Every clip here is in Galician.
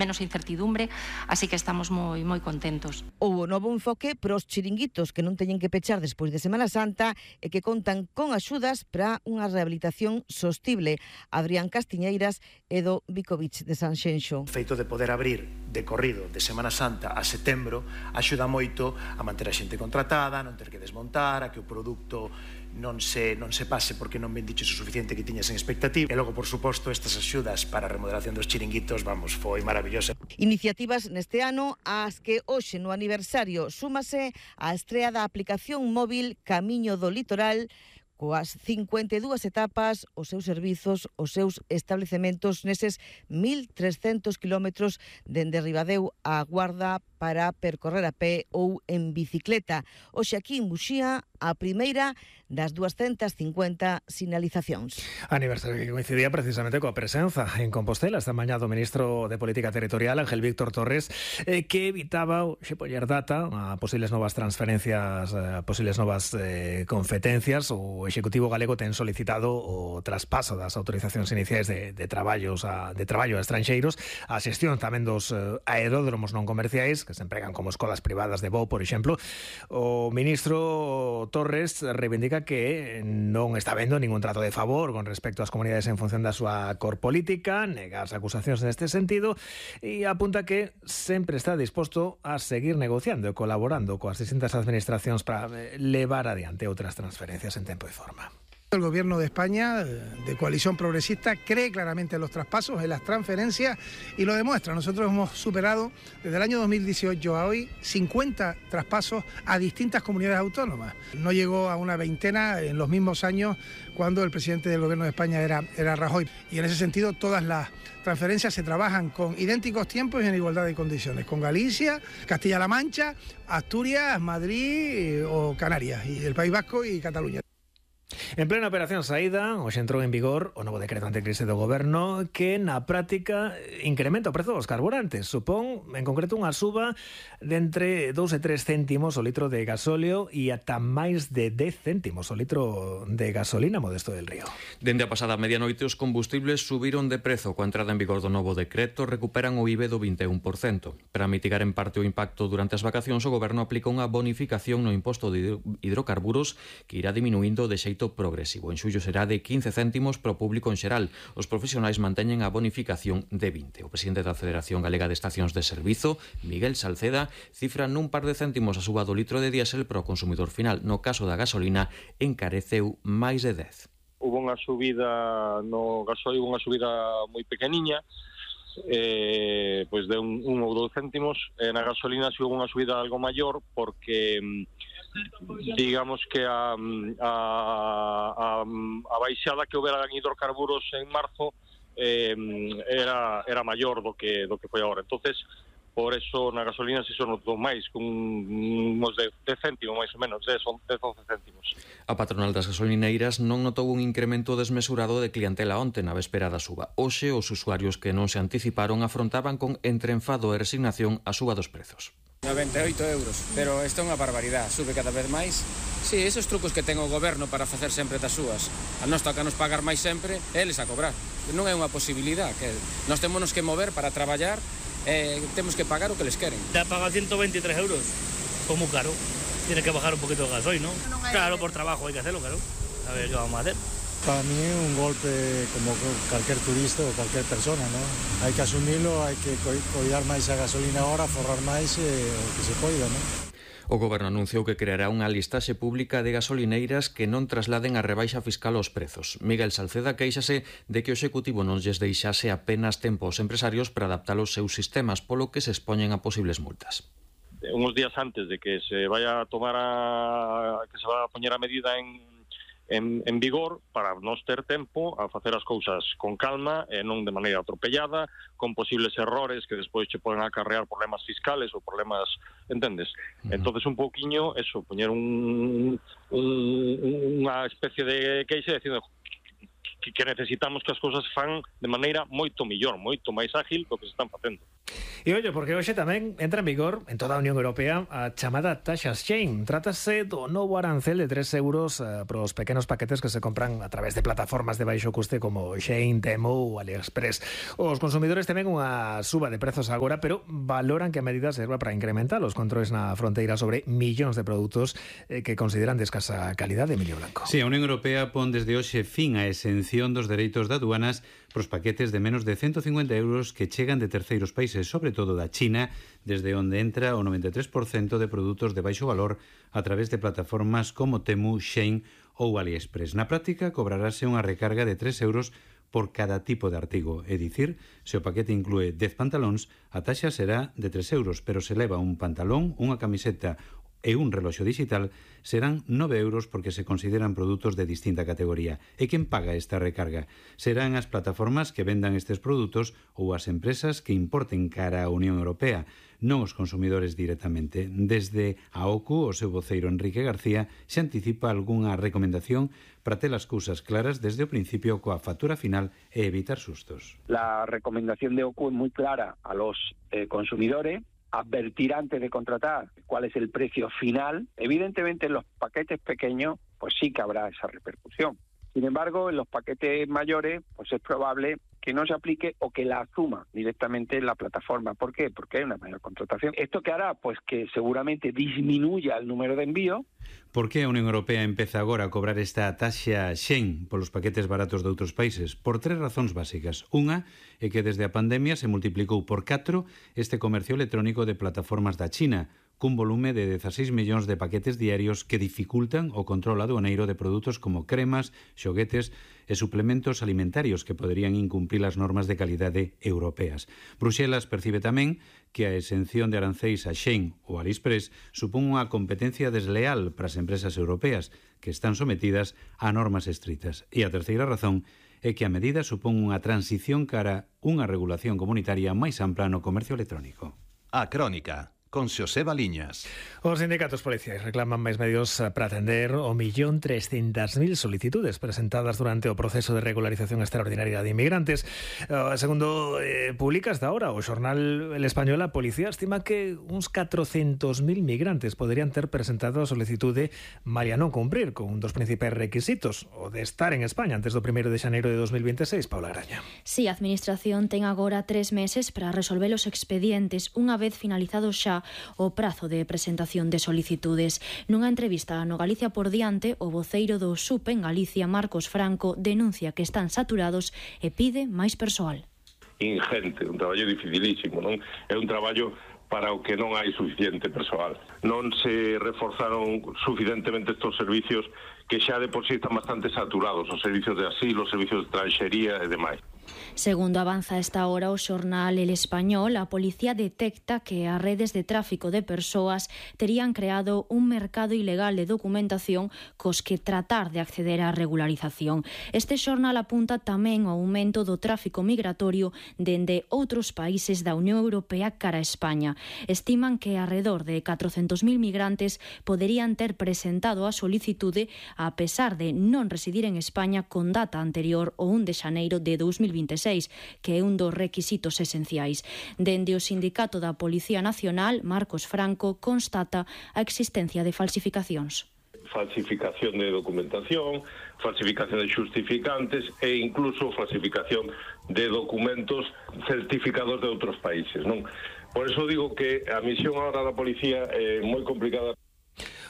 menos incertidumbre, así que estamos moi contentos. Houbo novo enfoque para os chiringuitos que non teñen que pechar despois de Semana Santa e que contan con axudas para unha rehabilitación sostible. Adrián Castiñeiras e do Bicovich de Sanxenxo. O feito de poder abrir de corrido de Semana Santa a setembro axuda moito a manter a xente contratada, non ter que desmontar, a que o produto non se pase porque non vendiches o suficiente que tiñas en expectativa. E logo, por suposto, estas axudas para a remodelación dos chiringuitos, foi maravillosa. Iniciativas neste ano ás que hoxe no aniversario súmase a estrea da aplicación móvil Camiño do Litoral, coas 52 etapas, os seus servizos, os seus establecementos neses 1.300 kilómetros dende Ribadeo á Guarda para percorrer a pé ou en bicicleta. Hoxe aquí en Muxía, a primeira das 250 sinalizacións. Aniversario que coincidía precisamente coa presenza en Compostela esta mañá do ministro de Política Territorial, Ángel Víctor Torres, que evitaba poñer data a posibles novas transferencias, a posibles novas competencias. O Executivo galego ten solicitado o traspaso das autorizacións iniciais de traballo a estranxeiros, a xestión tamén dos aeródromos non comerciais que se empregan como escolas privadas de voo, por exemplo. O ministro Torres reivindica que non está vendo ningún trato de favor con respecto ás comunidades en función da súa cor política, nega as acusacións neste sentido e apunta que sempre está disposto a seguir negociando e colaborando coas distintas administracións para levar adiante outras transferencias en tempo e forma. El gobierno de España, de coalición progresista, cree claramente en los traspasos, en las transferencias y lo demuestra. Nosotros hemos superado desde el año 2018 a hoy 50 traspasos a distintas comunidades autónomas. No llegó a una veintena en los mismos años cuando el presidente del gobierno de España era Rajoy. Y en ese sentido todas las transferencias se trabajan con idénticos tiempos y en igualdad de condiciones. Con Galicia, Castilla-La Mancha, Asturias, Madrid o Canarias, y el País Vasco y Cataluña. En plena operación saída, hoxe entrou en vigor o novo decreto anticrise do Goberno que na práctica incrementa o prezo dos carburantes. Supón, en concreto, unha suba de entre 2 e 3 céntimos o litro de gasóleo e ata máis de 10 céntimos o litro de gasolina, Modesto del Río. Dende a pasada medianoite os combustibles subiron de prezo. Coa entrada en vigor do novo decreto recuperan o IBE do 21%. Para mitigar en parte o impacto durante as vacacións, o Goberno aplica unha bonificación no imposto de hidrocarburos que irá diminuindo de xeito progresivo. En xullo será de 15 céntimos para o público en xeral. Os profesionais manteñen a bonificación de 20. O presidente da Federación Galega de Estacións de Servizo, Miguel Salceda, cifra nun par de céntimos a suba do litro de diésel para o consumidor final. No caso da gasolina, encareceu máis de 10. Hubo unha subida no gasoil, unha subida moi pequeniña, pois de un ou 2 céntimos. Na gasolina si hubo unha subida algo maior porque digamos que a baixada que houbera en hidrocarburos en marzo era maior do que foi agora. Entonces, por eso na gasolina se son notou máis, con uns de céntimos máis ou menos, 10 11 céntimos. A patronal das gasolineiras non notou un incremento desmesurado de clientela onte na véspera da suba. Hoxe, os usuarios que non se anticiparon afrontaban con entre enfado e resignación a suba dos prezos. 98 euros, pero isto é unha barbaridade, sube cada vez máis. Si, esos trucos que ten o goberno para facer sempre das súas. A nós toca nos pagar máis sempre, eles a cobrar. Non é unha posibilidade, que nós temos que mover para traballar, temos que pagar o que les queren. Ya paga 123 euros, como caro. Tiene que bajar un poquito el gasoil, ¿no? Claro, por trabajo hay que hacerlo, claro. A ver qué vamos a hacer. Para mí es un golpe como cualquier turista o cualquier persona, ¿no? Hay que asumirlo, hay que cuidar máis a gasolina ahora, forrar máis o que se poida, ¿no? O Goberno anunciou que creará unha listaxe pública de gasolineiras que non trasladen a rebaixa fiscal aos prezos. Miguel Salceda queixase de que o Executivo non lles deixase apenas tempo aos empresarios para adaptar os seus sistemas, polo que se expoñen a posibles multas. Unos días antes de que se vaya a tomar que se va a poñer a medida en vigor, para nos ter tempo a facer as cousas con calma e non de maneira atropellada, con posibles errores que despois che poden acarrear problemas fiscales ou problemas, entendes? Entonces un pouquiño eso, poñer unha especie de queixa dicindo que necesitamos que as cousas fan de maneira moito mellor, moito máis ágil do que se están facendo. E ollo, porque hoxe tamén entra en vigor en toda a Unión Europea a chamada taxa Shein. Trátase do novo arancel de 3 euros para os pequenos paquetes que se compran a través de plataformas de baixo custe como Shein, Temu ou AliExpress. Os consumidores temen unha suba de prezos agora, pero valoran que a medida serva para incrementar os controles na fronteira sobre millóns de produtos que consideran de escasa calidade. Emilio Blanco. Sí, a Unión Europea pon desde hoxe fin á exención dos dereitos de aduanas pros paquetes de menos de 150 euros que chegan de terceiros países, sobre todo da China, desde onde entra o 93% de produtos de baixo valor a través de plataformas como Temu, Shein ou AliExpress. Na práctica, cobrarase unha recarga de 3 euros por cada tipo de artigo. É dicir, se o paquete inclúe 10 pantalóns, a taxa será de 3 euros, pero se leva un pantalón, unha camiseta e un reloxo digital, serán 9 euros porque se consideran produtos de distinta categoría. E quen paga esta recarga? Serán as plataformas que vendan estes produtos ou as empresas que importen cara á Unión Europea, non os consumidores directamente. Desde a OCU, o seu voceiro Enrique García se anticipa algunha recomendación para ter as cousas claras desde o principio coa factura final e evitar sustos. La recomendación de OCU es muy clara a los consumidores: advertir antes de contratar cuál es el precio final. Evidentemente en los paquetes pequeños pues sí que habrá esa repercusión. Sin embargo, en los paquetes mayores pues es probable que no se aplique o que la asuma directamente la plataforma. ¿Por qué? Porque hay una mayor contratación. ¿Esto qué hará? Pues que seguramente disminuya el número de envíos. Por que a Unión Europea empeza agora a cobrar esta taxa Shein polos paquetes baratos de outros países? Por 3 razóns básicas. Unha é que desde a pandemia se multiplicou por 4 este comercio electrónico de plataformas da China, cun volume de 16 millóns de paquetes diarios que dificultan o control aduaneiro de produtos como cremas, xoguetes e suplementos alimentarios que poderían incumprir as normas de calidade europeas. Bruxelas percibe tamén que a exención de aranceis a Shein ou AliExpress supón unha competencia desleal para as empresas europeas que están sometidas a normas estritas. E a terceira razón é que a medida supón unha transición cara unha regulación comunitaria máis ampla no comercio electrónico. A Crónica, con Xosé Baliñas. Os sindicatos policiais reclaman máis medios para atender o 1.300.000 solicitudes presentadas durante o proceso de regularización extraordinaria de inmigrantes. Segundo publica hasta ahora o xornal El Español, a policía estima que uns 400.000 migrantes poderían ter presentado a solicitude malia non cumprir con un dos principais requisitos, o de estar en España antes do 1 de xaneiro de 2026. Paula Graña. Si, a Administración ten agora 3 meses para resolver os expedientes unha vez finalizado xa o prazo de presentación de solicitudes. Nunha entrevista no Galicia por diante, o voceiro do SUP en Galicia, Marcos Franco, denuncia que están saturados e pide máis persoal. Ingente, un traballo dificilísimo, non? É un traballo para o que non hai suficiente persoal. Non se reforzaron suficientemente estes servicios que xa de por sí están bastante saturados, os servicios de asilo, os servicios de extranxería e demais. Segundo avanza a esta hora o xornal El Español, a policía detecta que as redes de tráfico de persoas terían creado un mercado ilegal de documentación cos que tratar de acceder á regularización. Este xornal apunta tamén ao aumento do tráfico migratorio dende outros países da Unión Europea cara a España. Estiman que alrededor de 400.000 migrantes poderían ter presentado a solicitude a pesar de non residir en España con data anterior ao 1 de xaneiro de 2026, que é un dos requisitos esenciais. Dende o Sindicato da Policía Nacional, Marcos Franco constata a existencia de falsificacións. Falsificación de documentación, falsificación de xustificantes e incluso falsificación de documentos certificados de outros países, non? Por eso digo que a misión agora da policía é moi complicada.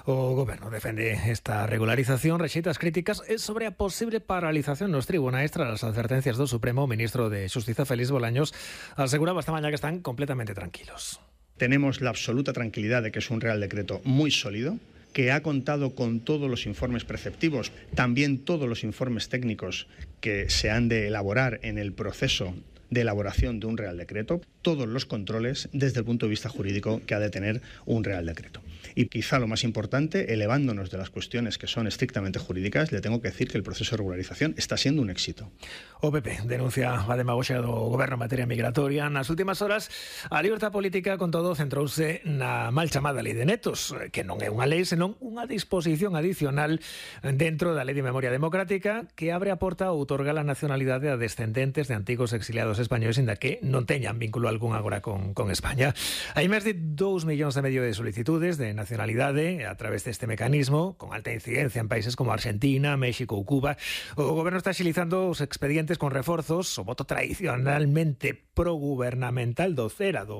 O Goberno defende esta regularización, rexeita as críticas sobre a posible paralización nos tribunais tras as advertencias do Supremo. O ministro de Xustiza, Félix Bolaños, aseguraba esta mañá que están completamente tranquilos. Tenemos la absoluta tranquilidad de que es un Real Decreto muy sólido, que ha contado con todos los informes preceptivos, también todos los informes técnicos que se han de elaborar en el proceso de elaboración de un Real Decreto, todos los controles desde el punto de vista jurídico que ha de tener un Real Decreto. Y quizá lo más importante, elevándonos de las cuestiones que son estrictamente jurídicas, le tengo que decir que el proceso de regularización está siendo un éxito. O PP denuncia a demagoxia do Goberno en materia migratoria. Nas últimas horas, a libertad política, con todo, centrouse na mal chamada Lei de Netos, que non é unha lei, senón unha disposición adicional dentro da Lei de Memoria Democrática que abre a porta a outorgar a nacionalidade a descendentes de antigos exiliados españoles, inda que non teñan vínculo algún agora con España. Hai máis de 2,5 millóns de solicitudes de nacionalidade a través deste mecanismo, con alta incidencia en países como Argentina, México ou Cuba. O goberno está axilizando os expedientes con reforzos, o voto tradicionalmente progubernamental do CERA, do